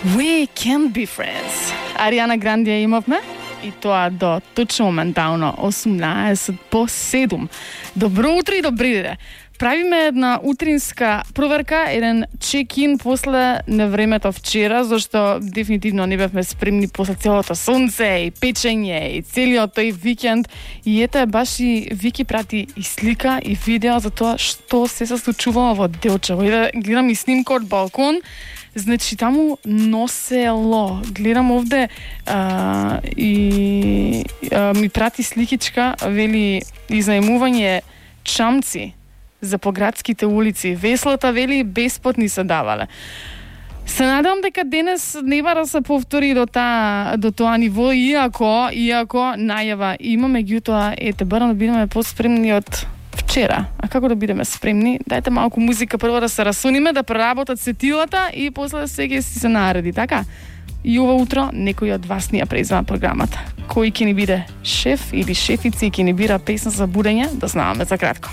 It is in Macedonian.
We can't be friends. Ариана Гранде имавме и тоа до точно моментално 18:07. Добро утро и добри дене. Правиме една утринска проверка, еден чек-ин после невремето вчера, зашто дефинитивно не бевме спремни после целото сонце и печење и целиот тој викенд. И ете, баш и Вики прати и слика и видео за тоа што се случувало во Делчево. И да гледам и снимка од балкон, значи таму носело. Гледам овде ми прати сликичка, вели изнаемување чамци за поградските улици. Веслата, вели, бесплатни се давале. Се надевам дека денес не бара да се повтори до тоа ниво, иако најава имаме, меѓутоа, ете, барам да бидеме поспремни од вчера. А како да бидеме спремни? Дајте малку музика прво да се расуниме, да преработат сетилата и после сега си се нареди, така? И ова утро некој од вас ни ја презема програмата. Кој ќе ни биде шеф или шефици и ќе ни бира песна за будење, да знаваме за кратко.